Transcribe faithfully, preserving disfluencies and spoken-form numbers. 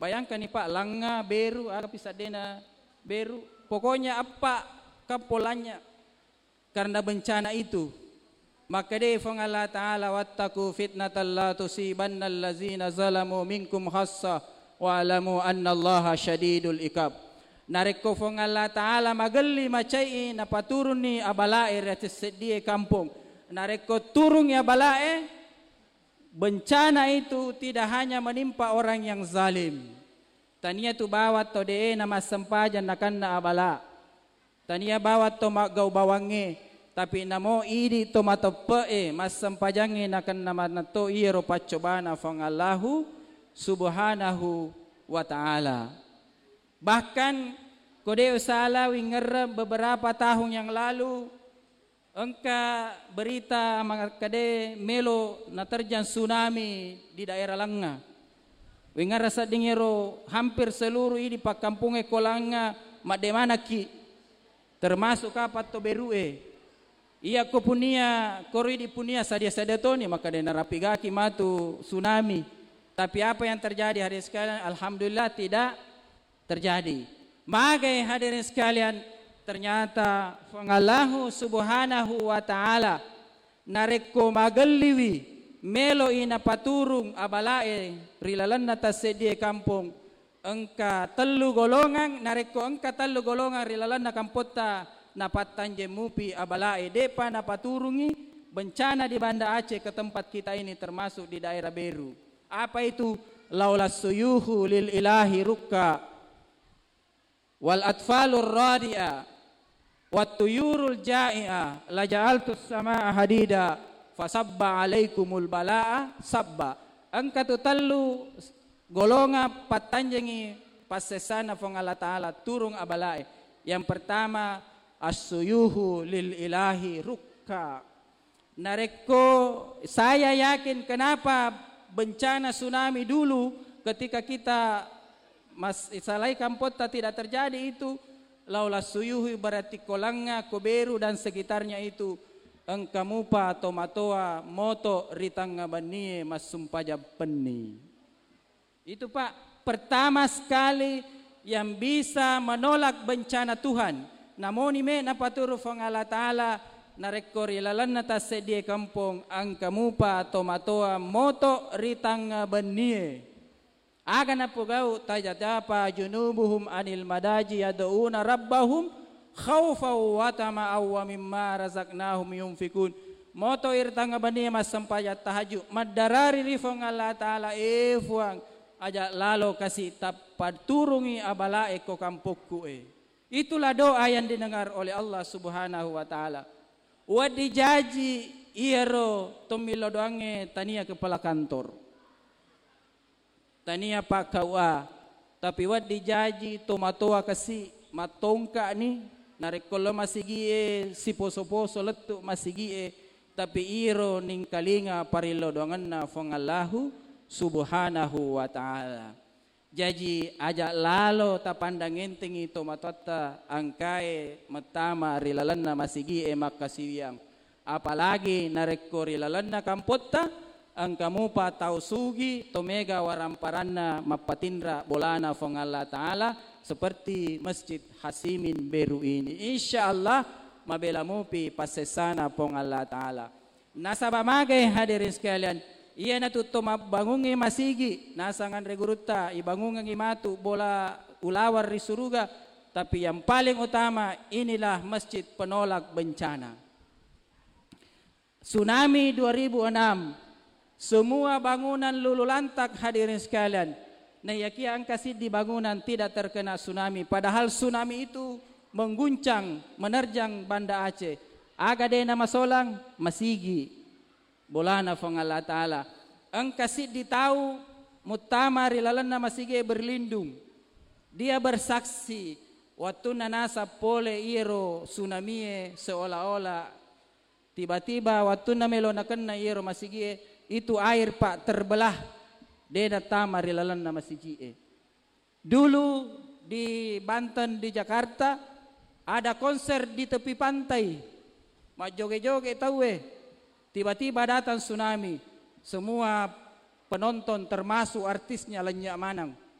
Bayangkanni, Pak, Langnga, Beru, aga pi seddena Beru. Pokoknya eppa kampong Langnga karena bencana itu. Makkedai Fuang Allah Ta'ala, "Wattaqu fitnatan la tusibanna allazina zalamu minkum khassa wa'lamu annallaha syadidul iqab." Narekko Fuang Allah Ta'ala magelli macai napaturunni abalae ri ati seddie kampong. Narekko turungi abalae, bencana itu tidak hanya menimpa orang yang zalim. Tania tu bawang to de'e namassempajang nakenna abala. Tania bawang to maggau bawangnge, tapi namo idi to mateppe'e massempajangnge nakenna manetto iyaro paccobana Fuang Allahu Subhanahu wa Ta'ala. Bahkan ko de' usala wingerreng beberapa tahun yang lalu, engka berita makkeda melo naterjang tsunami di daerah Langnga. Wingerreng sedding ero hampir seluruh idi pakkampongnge ko Langnga madde manakki, termasuk kapang to Beru'e. Iya ko punia, koro idi punia sadia-sadia toni, makkeda narapigaki matu tsunami. Tapi apa yang terjadi, hadirin sekalian? Alhamdulillah tidak terjadi. Magai, hadirin sekalian, ternyata Fuang Allahu Subhanahu wa Ta'ala narekko magelliwi melo'i napaturung abalae ri lalenna tasseddie kampong, engka tellu golongang. Narekko engka tellu golongang ri lalenna kampotta, napattanjeng mupi abalae, de'pa napaturungi bencana di Banda Aceh ke tempat kita ini, termasuk di daerah Beru. Apa itu? Laula suyuhu lil ilahi rukka, wal atfalur radi'a, wat tuyurul ja'i'a, la ja'altus sama'a hadida, fasabba alaikumul bala'a sabba. Engka tu tellu golongang pattanjengi passessana Fuang Allah Ta'ala turung abalae. Yang pertama, as-suyuhu lil ilahi rukka. Narekko saya yakin kenapa bencana tsunami dulu ketika kita mas-, salai kampotta tidak terjadi itu, laula suyuhi, berarti ko Langnga, ko Beru dan sekitarnya itu, engka mupa tomatoa moto ri tangnga bennie massumpajang penni. Itu, Pak, pertama sekali yang bisa menolak bencana Tuhan. Namoni me napaturu Fuang Allah Ta'ala, narekko ri lalenna tasseddie kampong, engka mupa tomatoa moto ri tangnga bennie. Aga napogau? Tajajafa junubuhum anil madaji yad'una rabbahum khaufau wa tama'au wa mimma razaqnahum yunfikun. Moto ri tangnga bennie massempajang tahajud, maddarari ri Fuang Allah Ta'ala, "E Fuang, aja' lalo kasi' tappaturungi abalae ko kampokku e." Itulah doa yang didengar oleh Allah Subhanahu wa Ta'ala. Wedding jaji iyaro tommillo doangnge tania kepala kantor. Tania Pak K U A, tapi wedding jaji tomatoa kasi' mattongka'ni, narekko lo masigi'e siposo-poso lettu masigi'e, tapi iro ningkalinga parillo doangenna Fuang Allahu Subhanahu wa Ta'ala. Jaji aja' lalo tapandang entengi tomatoatta engkae mettama ri lalenna masigi'e makkasiwiang. Apalagi narekko ri lalenna kampotta, engka mupa tau sugi, to mega waramparanna mappatinra bolana Fuang Allah Ta'ala, seperti Masjid Hasimin Beru ini. Insya Allah, mabela mupi passessana Fuang Allah Ta'ala. Nasaba magai, hadirin sekalian, iyanatu to mabbangungngi masigi, nasang anre gurutta, ibangungengngi matu bola ulaweng ri suruga, tapi yang paling utama, inilah masjid penolak bencana. Tsunami dua ribu enam, semua bangunan luluh lantak, hadirin sekalian. Naiyakia engka siddi bangunan tidak terkena tsunami, padahal tsunami itu mengguncang, menerjang Banda Aceh. Aga de' namasolang? Masigi, bolana Fuang Allah Ta'ala. Engka siddi tau muttama ri lalenna masigie berlindung. Dia bersaksi, wattunna nasang pole iyaro tsunamie, seolah-olah tiba-tiba wattunna melo nakenna iyaro masigie, itu air, Pak, terbelah, de' nattama ri lalenna masigie. Dulu di Banten, di Jakarta, ada konser di tepi pantai, majjoge-joge tauwe, tiba-tiba datang tsunami, semua penonton termasuk artisnya lenyap maneng.